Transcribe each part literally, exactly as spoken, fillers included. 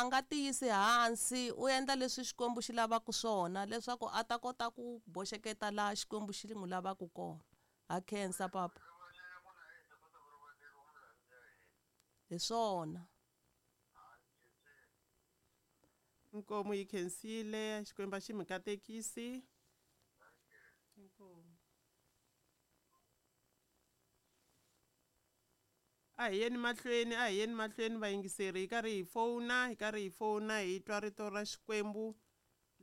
a nga tiyisi hansi u endla leswi Xikwembu xi lavaka swona leswaku a ta kota ku boxeketa laha Xikwembu xi n'wi lavaka kona. Ha khensa papa. Hi swona. Nkomu yi khensile, Xikwembu xi mi katekisi. Inkomu. A hi yeni mahlweni, a hi yeni mahlweni vayingiseri, hi karhi hi fona, hi karhi hi fona hi twa rito ra Xikwembu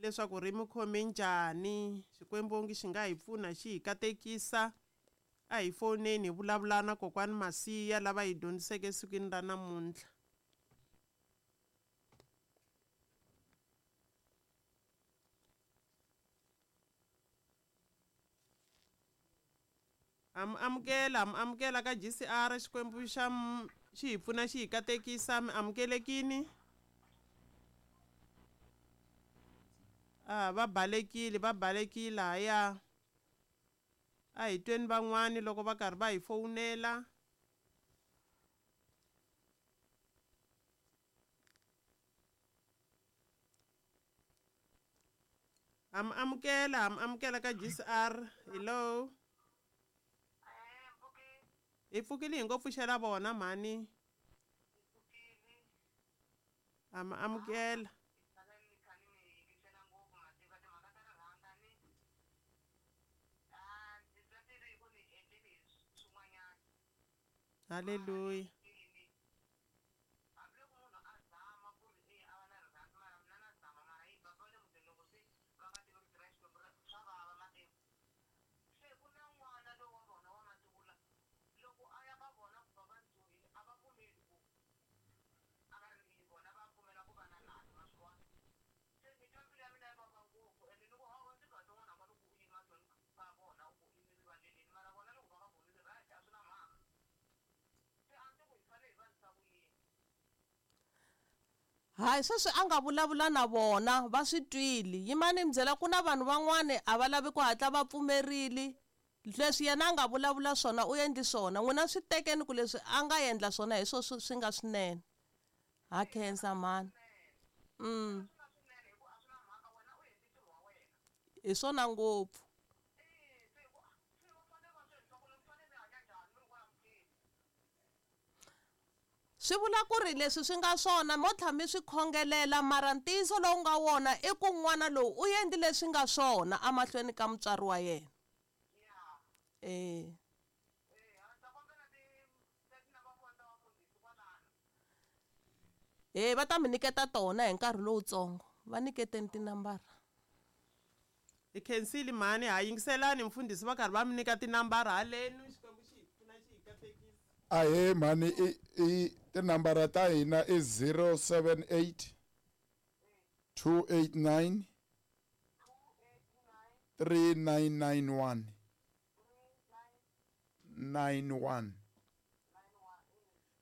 leswaku ri mi khome njhani. Xikwembu onge xi nga hi pfuna xi hi katekisa. A hi foneni hi vulavula na kokwani Masiya lava hi dyondziseke sikwini ra namuntlha. Am amukela, am amukela ka G C R, Xikwembu xa m-, xi hi pfuna xi hi katekisa. Mi amukelekini? Ah, va balekile, va balekile haya. A hi tweni van'wani loko va karhi va hi fowunela. Am amukela, am amukela ka G C R. Hello. Hi pfukile hi ngo pfuxela vona mhani. Am amukela. Hallelujah. Hayi, sweswi a nga vulavula na vona va swi twile. Yimani mi byela ku na vanhu van'wani a va lavi ku hatla va pfumerile. Leswi yena a nga vulavula swona u endli swona. N'wina swi tekeni ku leswi a nga endla swona hi swo swi nga swinene. Ha khensa mhani. Mm. Hi swona ngopfu. Swi vula ku ri leswi swi nga swona mo tlha mi swi khongelela, mara ntiyiso lowu nga wona i ku n'wana lowu u endli leswi nga swona emahlweni ka mutswari wa yena. Eh. Eh, va ta mi nyiketa tona hi nkarhi lowutsongo. Va nyiketeni tinambara. Hi khensile mhani, ha yingiselani mfundhisi va karhi va mi nyika tinambara halenu. Xikwembu xi hi pfuna xi hi katekisa. Ahee mhani, i, i tinambara ta hina i zero seven eight two eight nine three nine nine one nine one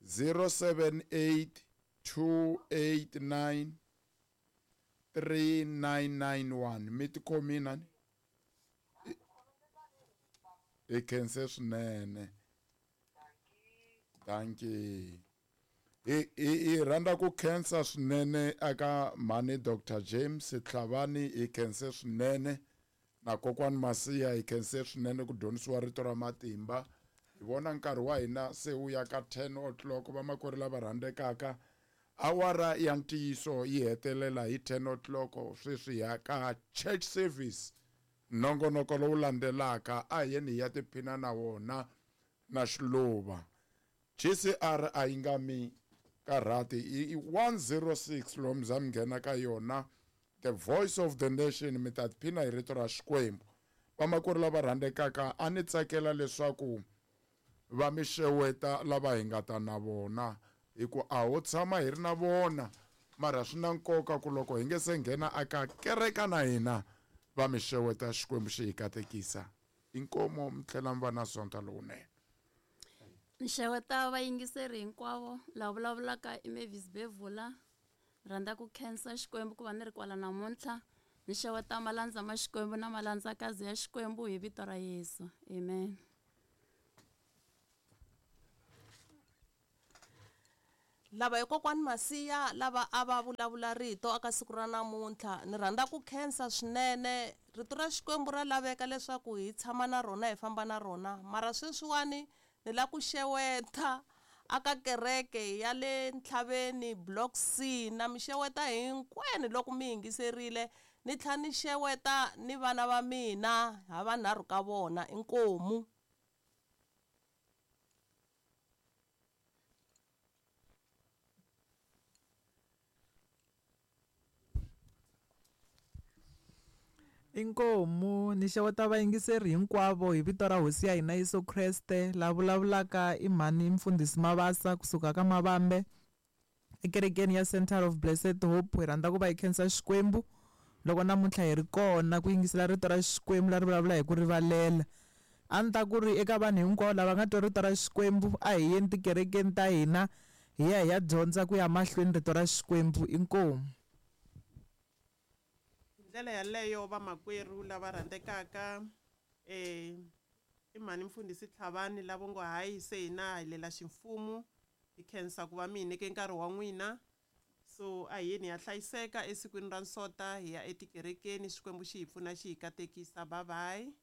zero seven eight two eight nine three nine nine one. Mi tikhomile nani? Hi khense swinene. Thank you. Hi hi rhandza ku khensa swinene aka mhani Doctor James Tlhavani, hi khense swinene na kokwani Masiya, hi khense swinene ku dyondzisiwa rito ra matimba. Hi vona nkarhi wa hina se wu ya ka ten o'clock. Vamakwerhu lava rhandzekaka, awara ya ntiyiso yi hetelela hi ten o'clock. Sweswi ya ka church service, nongonoko lowu landzelaka a hi yeni hi ya tiphina na wona na Xiluva. G C R a yi nga mi karhati, i one zero six lomu za mi nghena ka yona, the voice of the nation. Mi ta tiphina hi rito ra Xikwembu. Vamakwerhu lava rhandzekaka, a ni tsakela leswaku va mi xeweta lava hi nga ta na vona, hi ku a ho tshama hi ri na vona, mara swi na nkoka ku loko hi nge se nghena aka kereka na hina va mi xeweta. Xikwembu xi hi katekisa. Inkomo mi tlhela mi va na sonta lowunene. Nxeweta vayingiseri hinkwavo lava vulavulaka i Mavis Bevula. Rhandza ku khensa Xikwembu ku va ni ri kwala namuntlha. Nxeweta malandza ma Xikwembu na malandzakazi ya Xikwembu hi vito ra Yesu. Amen. Lava hi kokwani Masiya lava a va vulavula rito aka siku ra namuntlha ni rhandza ku khensa swinene. Rito ra Xikwembu ra laveka leswaku hi tshama na rona hi famba na rona, mara sweswiwani ni la ku xeweta aka kereke ya le Ntlhaveni Block C, na mi xeweta hinkwenu loko mi yingiserile. Ni tlhela ni xeweta ni vana va mina ha vanharhu ka vona, inkomu. Inkomu ni xeweta vayingiseri hinkwavo hi vito ra Hosi ya hina Yesu Kreste. La vulavulaka i mhani Mfundhisi Mabasa kusuka ka Mavambe ekerekeni ya Center of Blessed Hope. Hi rhandza ku va hi khensa Xikwembu loko namuntlha hi ri kona ku yingisela rito ra Xikwembu leri vulavula hi ku rivalela. A ni ta ku ri eka vanhu hinkwavo lava nga twa rito ra Xikwembu, a hi yeni tikerekeni ta hina hi ya hi ya dyondza ku ya mahlweni rito ra Xikwembu. Inkomu. Ndlela yaleyo vamakwerhu lava rhandzekaka, eh i mhani Mfundhisi Tlhavani lavo ngo hayi se hina hi lela ximfumo, hi khensa ku va mi hi nyike nkarhi wa n'wina. So a hi yeni hi ya hlayiseka esikwini ra nsota, hi ya etikerekeni. Xikwembu xi hi pfuna xi hi katekisa. Bye bye.